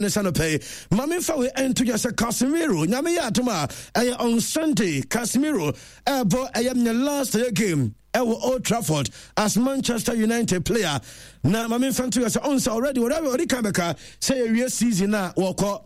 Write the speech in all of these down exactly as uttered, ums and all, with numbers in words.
Ne sɛ no pɛi ma memfa wei ɛnto dwa sɛ Casemiro, Nyame yɛ adom a, ɛyɛ on Sunday Casemiro ɛbɔ ɛyɛ ne last ɛyɛ game ɛwɔ Old Trafford as Manchester United player. Na ma memfa nto dwa sɛ ɔn sɛ already ɔde kan bɛka sɛ yɛwie season a wɔkɔ.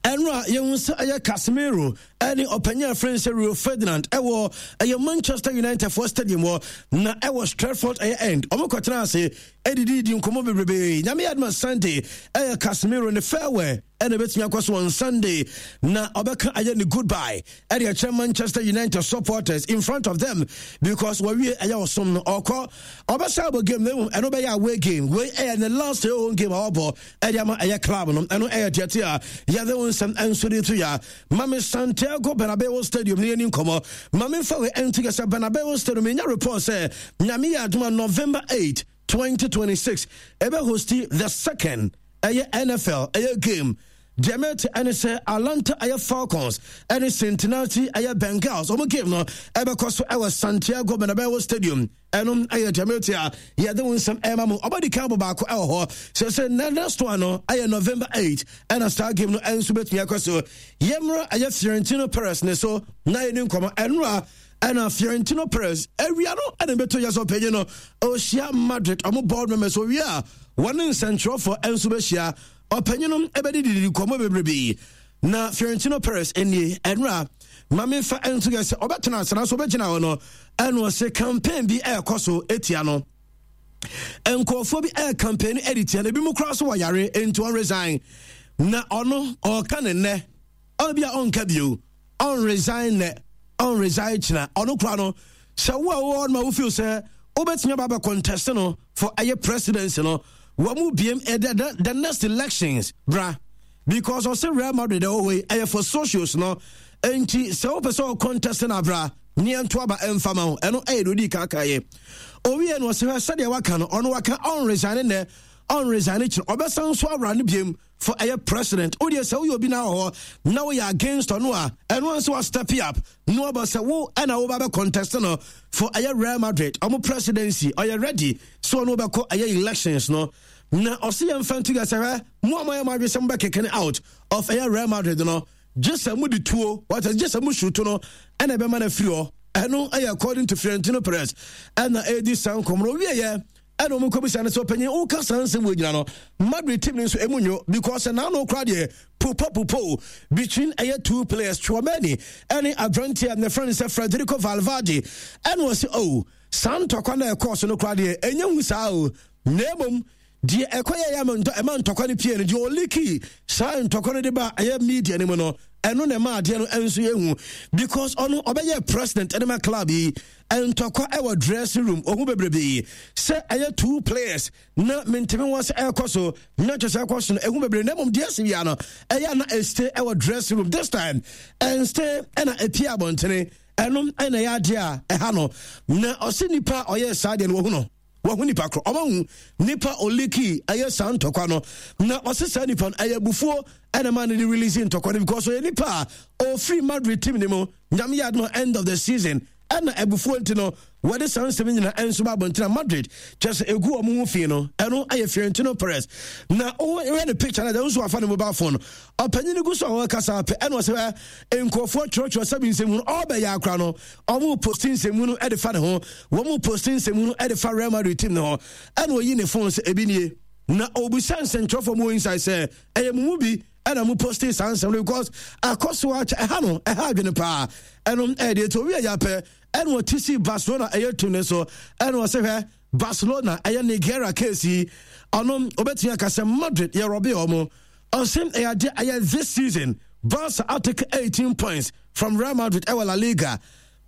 Ɛno a yɛhu sɛ ɛyɛ Casemiro ɛne ɔpanyin a frɛ sɛ Rio Ferdinand ɛwɔ ɛyɛ Manchester United for stadium hɔ na ɛwɔ Stratford ɛyɛ End, ɔmo kɔtena ase ɛdididi nkɔmmɔ bebrebe. Nyame yɛ adoma, Sunday ɛyɛ Casemiro ne farewell ɛna ɛbɛtumi akɔ so on Sunday na ɔbɛka ɛyɛ ne goodbye ɛde ɛkyerɛ Manchester United supporters in front of them, because wɔwie ɛyɛ ɔsom no, ɔkɔ. Ɔbɛsa abɔ game na mmom ɛno bɛyɛ away game. Wei ɛyɛ ne last ɛyɛ home game a ɔbɔ ɛde ama ɛyɛ club no. Ɛno ɛyɛ deɛte a yɛde wo nsɛm ɛnso de to ya. Mame Santiago Bernabeu Stadium ne yɛni nkɔmmɔ. Mame mfa wei ɛnto yɛ sɛ Bernabeu Stadium ɛnya report sɛ Nyame yɛ adoma, November eight twenty twenty-six ɛbɛ host the second ɛyɛ N F L ɛyɛ game. Deɛ mɛte ɛne sɛ Atlanta ɛyɛ Falcons ɛne Cincinnati ɛyɛ Bengals, ɔmo game no ɛbɛkɔ so ɛwɔ Santiago Bernabeu Stadium. Ɛno ɛyɛ deɛ mɛte a yɛde wo nsɛm ɛma mu. Ɔbɛdi kan bɔ baako ɛwɔ hɔ sɛ sɛ na next one no ɛyɛ November eight, ɛna saa game no ɛnso bɛtumi akɔ so. Yɛmmra ɛyɛ Florentino Perez ne so na yɛni nkɔmmɔ. Ɛnora ɛna Florentino Perez awia no ɛna bɛtɔ yɛ sɛ ɔpanyin no ɔhyia Madrid ɔmo board members. Owie a, wɔne nsɛntwerɛfoɔ ɛnso bɛhyia. Ɔpanyin no ɛbɛde didi nkɔmmɔ bebrebe. Na Florentino Perez nie, ɛnora maame fa ɛnso yɛ sɛ ɔbɛtena asena so, ɔbɛgyina hɔ no, ɛna ɔsɛ campaign bi ɛrekɔ so etia no. Nkurɔfoɔ bi ɛyɛ campaign ɛde tia no, ebi mu koraa so wɔ yare nti ɔn resign. Na ɔno ɔɔka ne nnɛ ɔno bi a ɔnka bio, ɔn resign nnɛ, ɔn resign kyina. Ɔno koraa no sɛ wo a wowɔ no ma wo feel sɛ wobɛtumi aba abɛ contest no for ɛyɛ presidency no, wɔn mu biem ɛdɛ the, the next elections bra, because ɔsɛ Real Madrid ɛwɔ hɔ yi ɛyɛ for socios no. Nti sɛ wopɛ sɛ ɔcontest no abra ne ɛnto aba ɛmfa ma wo. Ɛno ɛyɛ deɛ odi kaka yɛ owie no. Ɔsɛ hwɛ sɛdeɛ waka no, ɔno waka ɔn resign nnɛ, ɔn resign kyerɛ, ɔbɛsan so awura no biem for ɛyɛ president. Wodeɛ sɛ woyɛ obi na wɔ hɔ na woyɛ against ɔno a, ɛno nso wa step up na waba sɛ wo ɛna woba bɛ contest no for ɛyɛ Real Madrid ɔmo presidency. Ɔyɛ ready so ɔno wobɛkɔ ɛyɛ elections no. Na ɔse yɛmfa nto yɛ sɛ hwɛ, mo a moayɛ mo adwe sɛ mobɛkeke no out of ɛyɛ Real Madrid no, gye sɛ mode tuo wata, gye sɛ mo shoot no ɛna ɛbɛma no afiri hɔ. Ɛno ɛyɛ according to Florentino Perez ɛna ɛdi saa nkɔmmɔ no. Owieɛ ɛna ɔmo kɔbisa no sɛ, ɔpanyin, woka saa nsɛm wɔ nyina no, Madrid team no nso ɛmu nyo, because naano kora deɛ pupo pupo between ɛyɛ two players, Tchouameni ɛne aberanteɛ ne friend sɛ Federico Valverde. Ɛna ɔsɛ, oh, saa ntɔkwa no ɛkɔɔ so no kora deɛ ɛnyɛ hu saa o, na mmom deɛ ɛkɔ yɛ yɛ ɛma ntɔkwa no pie no, deɛ ɔleak saa ntɔkwa no de ba ɛyɛ media no mu no, ɛno na ɛma adeɛ no nso yɛ hu, because ɔno ɔbɛyɛ president ɛde ma club yi, ntɔkwa ɛwɔ dressing room ɔho bebrebe sɛ ɛyɛ two players na menteme wɔn sɛ ɛrekɔ so na kyerɛ sɛ ɛkɔ so no ɛho bebree. Na mmom deɛ ɛsi wia no ɛyɛ na ɛstay ɛwɔ dressing room, this time ɛnstay ɛna ɛpie abɔntene. Ɛno ɛna ɛyɛ adeɛ a ɛha no. Na ɔsi nipa a ɔyɛ saa deɛ no, wɔhu no, wɔho nipa korɔ, ɔma hu nipa ɔleak ɛyɛ saa ntɔkwa no. Na ɔse saa nipa no ɛyɛ abufuo ɛna ma no de release ntɔkwa no, because ɔyɛ nipa a ɔfiri Madrid team ne mu, Nyame yɛ adoma, end of the season. Ɛna abufuo nti no wɔde saa nsɛm nyina ɛnso ba abɔntena Madrid kyerɛ sɛ ɛgu ɔmo ho fi no. Ɛno ɛyɛ Florentino Perez. Na wohwɛ ne picture no, ɛdɛ nso wafa ne mobile phone. Ɔpanyin gu so a wɔkasa pɛ, ɛna ɔsɛ nkurɔfoɔ twerɛtwerɛ sɛbi nsɛm no ɔbɛyɛ akora no, ɔmo post nsɛm no ɛde fa ne ho, wɔn post nsɛm no ɛde fa Real Madrid team ne ho. Ɛna oyi ne phone sɛ ebi nie, na obisa nsɛntwerɛfoɔ mu inside sɛ ɛyɛ mu mu bi ɛna mo post saa nsɛm no, because akɔ so akyɛ ɛha no, ɛha adwene paa. Ɛno ɛyɛ deɛ ɛti owi ɛyɛ apɛ. Ɛna ɔte si Barcelona ɛyɛ team ne so, ɛna ɔsɛ hwɛ, Barcelona ɛyɛ Negreira case yi, ɔno obɛtumi aka sɛ Madrid yɛ rob ɔmo. Ɔsɛ ɛyɛ adeɛ ɛyɛ this season Barca atake eighteen points from Real Madrid ɛwɔ La Liga.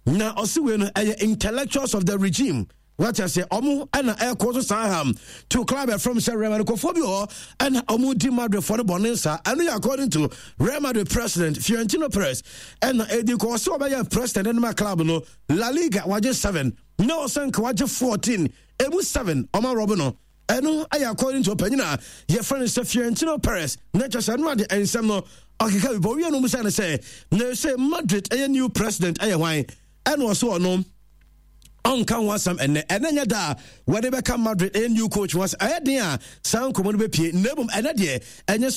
Na ɔsi wei no ɛyɛ intellectuals of the regime wata sɛ ɔmo ɛna ɛkɔ so saa ham to club ɛfrɛm sɛ Real Madrid kɔfoɔ bi wɔ ɛna ɔmo di Madrid foɔ no bɔne nsa. Ɛno yɛ according to Real Madrid president Florentino Perez ɛna edi kɔ. Ɔsɛ ɔbɛyɛ president ɛnum a club no La Liga wagye seven na ɔsɛ nka wagye fourteen, emu seven ɔmo arob no. Ɛno ɛyɛ according to ɔpanyin a yɛfrɛ no sɛ Florentino Perez. Na kyerɛ sɛ ɛno ade nsɛm no ɔkeka bi bɔ wie no mu sɛ no sɛ na sɛ Madrid ɛyɛ new president ɛyɛ hwan. Ɛna ɔsɛ ɔno Ɔnka ho asɛm ɛnɛ. Ɛnɛ nyɛ da a wɔde bɛka Madrid ɛyɛ new coach ho asɛm. Ɛyɛ den a saa nkɔmmɔ no bɛpie, na mmom ɛnɛ deɛ ɛnyɛ sɛ